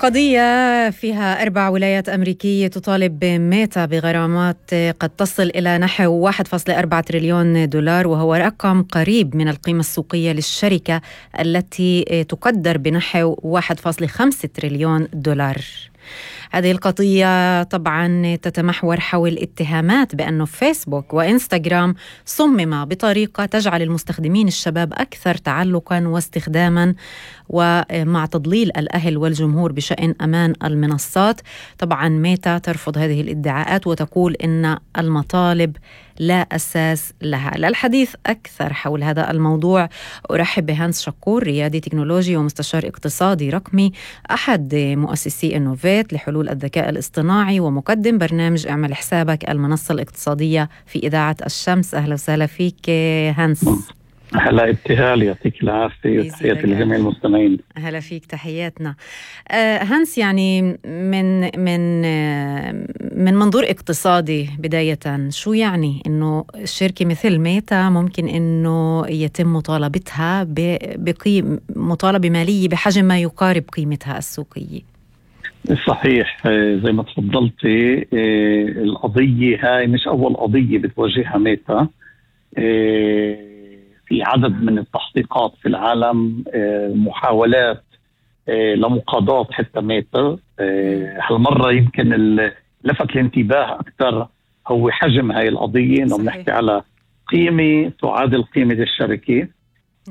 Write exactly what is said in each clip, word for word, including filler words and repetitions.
قضية فيها أربع ولايات أمريكية تطالب ميتا بغرامات قد تصل إلى نحو واحد فاصلة أربعة تريليون دولار، وهو رقم قريب من القيمة السوقية للشركة التي تقدر بنحو واحد فاصلة خمسة تريليون دولار. هذه القضية طبعا تتمحور حول اتهامات بأنه فيسبوك وإنستغرام صمم بطريقة تجعل المستخدمين الشباب أكثر تعلقا واستخداما، ومع تضليل الأهل والجمهور بشأن أمان المنصات. طبعا ميتا ترفض هذه الادعاءات وتقول إن المطالب لا أساس لها. للحديث أكثر حول هذا الموضوع أرحب بهانس شكور، ريادي تكنولوجي ومستشار اقتصادي رقمي، أحد مؤسسي إنوفيت لحلول الذكاء الاصطناعي ومقدم برنامج اعمل حسابك المنصة الاقتصادية في إذاعة الشمس. أهلا وسهلا فيك هانس. هلا ابتهال، يعطيك العافية وتحياتي لجميع المستمعين. هلا فيك، تحياتنا. آه هانس، يعني من من آه من منظور اقتصادي بداية، شو يعني إنه شركة مثل ميتا ممكن إنه يتم مطالبتها بقيم مطالبة مالية بحجم ما يقارب قيمتها السوقية؟ صحيح، زي ما تفضلتي، القضية هاي مش أول قضية بتواجهها ميتا. في عدد من التحقيقات في العالم، محاولات لمقاضاة حتى ميتا. هالمرة يمكن لفت الانتباه أكثر هو حجم هاي القضية، إنه بنحكي على قيمة تعادل قيمة الشركة.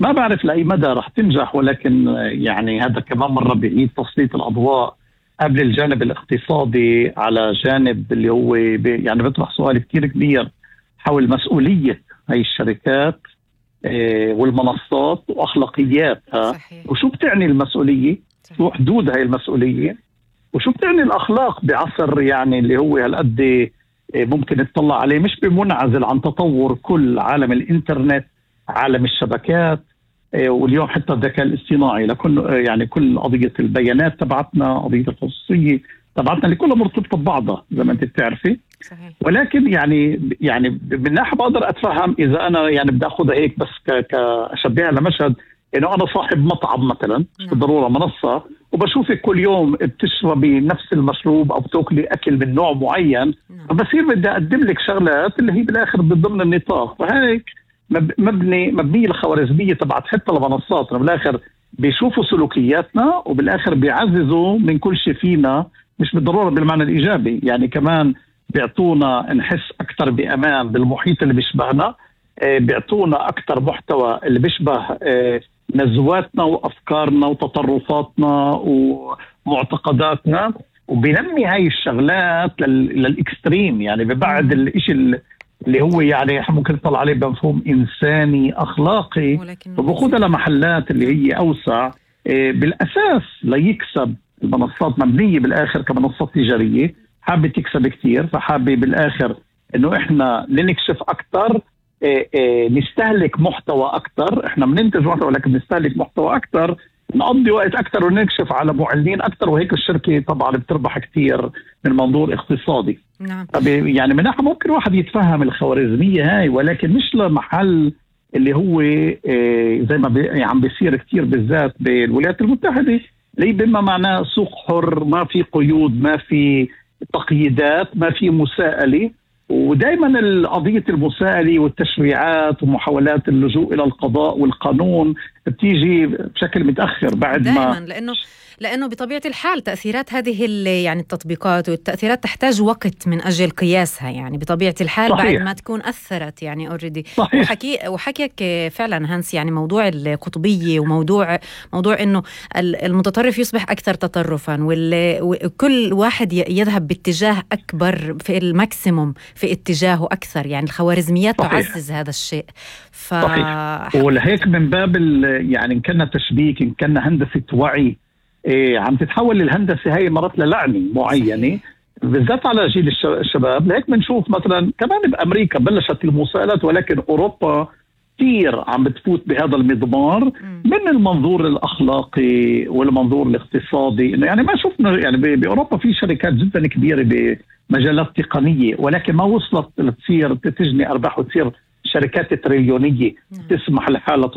ما بعرف لأي مدى رح تنجح، ولكن يعني هذا كمان مرة بيعيد تسليط الأضواء قبل الجانب الاقتصادي على جانب اللي هو يعني بيطرح سؤال كتير كبير حول مسؤولية هاي الشركات والمنصات وأخلاقياتها. صحيح. وشو بتعني المسؤولية؟ صحيح. شو حدود هاي المسؤولية؟ وشو بتعني الأخلاق بعصر يعني اللي هو هالقد ممكن نطلع عليه مش بمنعزل عن تطور كل عالم الإنترنت، عالم الشبكات، واليوم حتى الذكاء الاصطناعي، لكل يعني كل قضية البيانات تبعتنا، قضية الخصوصية تبعتنا، اللي كلها مرتبطة ببعضها زي ما انت بتعرفي. صحيح. ولكن يعني يعني من ناحية بقدر أتفهم إذا أنا يعني بدي أخذها هيك بس كأشبهها لمشهد إنه أنا صاحب مطعم مثلا، مش بالضرورة منصة، وبشوفك كل يوم بتشربي نفس المشروب أو بتاكلي أكل من نوع معين، فبصير بدي أقدم لك شغلات اللي هي بالآخر ضمن النطاق. وهيك مبني مبنية الخوارزمية تبعت حتى المنصات، بالآخر بيشوفوا سلوكياتنا وبالآخر بيعززوا من كل شيء فينا، مش بالضرورة بالمعنى الإيجابي، يعني كمان بيعطونا نحس أكتر بأمان بالمحيط اللي بيشبهنا، بيعطونا أكتر محتوى اللي بيشبه نزواتنا وأفكارنا وتطرفاتنا ومعتقداتنا، وبينمي هاي الشغلات للإكستريم، يعني ببعد الإشي اللي هو يعني ممكن نطلع عليه بمفهوم إنساني أخلاقي، وبخوضها لمحلات اللي هي أوسع بالأساس ليكسب. المنصات مبنية بالآخر كمنصات تجارية، حابة تكسب كتير، فحابة بالآخر إنه إحنا ننكشف أكتر، نستهلك محتوى أكتر. إحنا بننتج محتوى ولكن نستهلك محتوى أكتر، نقضي وقت أكتر ونكشف على معلنين أكتر، وهيك الشركة طبعا بتربح كتير من منظور اقتصادي. نعم. يعني من ناحية ممكن واحد يتفهم الخوارزمية هاي، ولكن مش لمحل اللي هو زي ما بي عم بيصير كتير بالذات بالولايات المتحدة، اللي بما معناه سوق حر، ما في قيود، ما في تقييدات، ما في مساءلة. ودائما القضية المساءلة والتشريعات ومحاولات اللجوء إلى القضاء والقانون بتيجي بشكل متأخر بعد دايماً ما لأنه لأنه بطبيعة الحال تأثيرات هذه يعني التطبيقات والتأثيرات تحتاج وقت من أجل قياسها، يعني بطبيعة الحال. صحيح. بعد ما تكون أثرت يعني أوريدي. وحكي وحكيك فعلا هانس، يعني موضوع القطبية وموضوع موضوع إنه المتطرف يصبح أكثر تطرفا، وكل واحد يذهب باتجاه أكبر في الماكسيموم في اتجاهه أكثر، يعني الخوارزميات تعزز هذا الشيء. ف... صحيح. ولهيك من باب يعني إن كنا تشبيك، إن كنا هندسة وعي، إيه عم تتحول الهندسة هاي مرات للعنة معينة بالذات على جيل الشباب. لهيك بنشوف مثلا كمان بأمريكا بلشت المساءلات، ولكن أوروبا كثير عم بتفوت بهذا المضمار من المنظور الأخلاقي والمنظور الاقتصادي. إنه يعني ما شفنا يعني بأوروبا في شركات جدا كبيرة بمجالات تقنية، ولكن ما وصلت لتصير تجني أرباح وتصير شركات تريليونية تسمح لحالها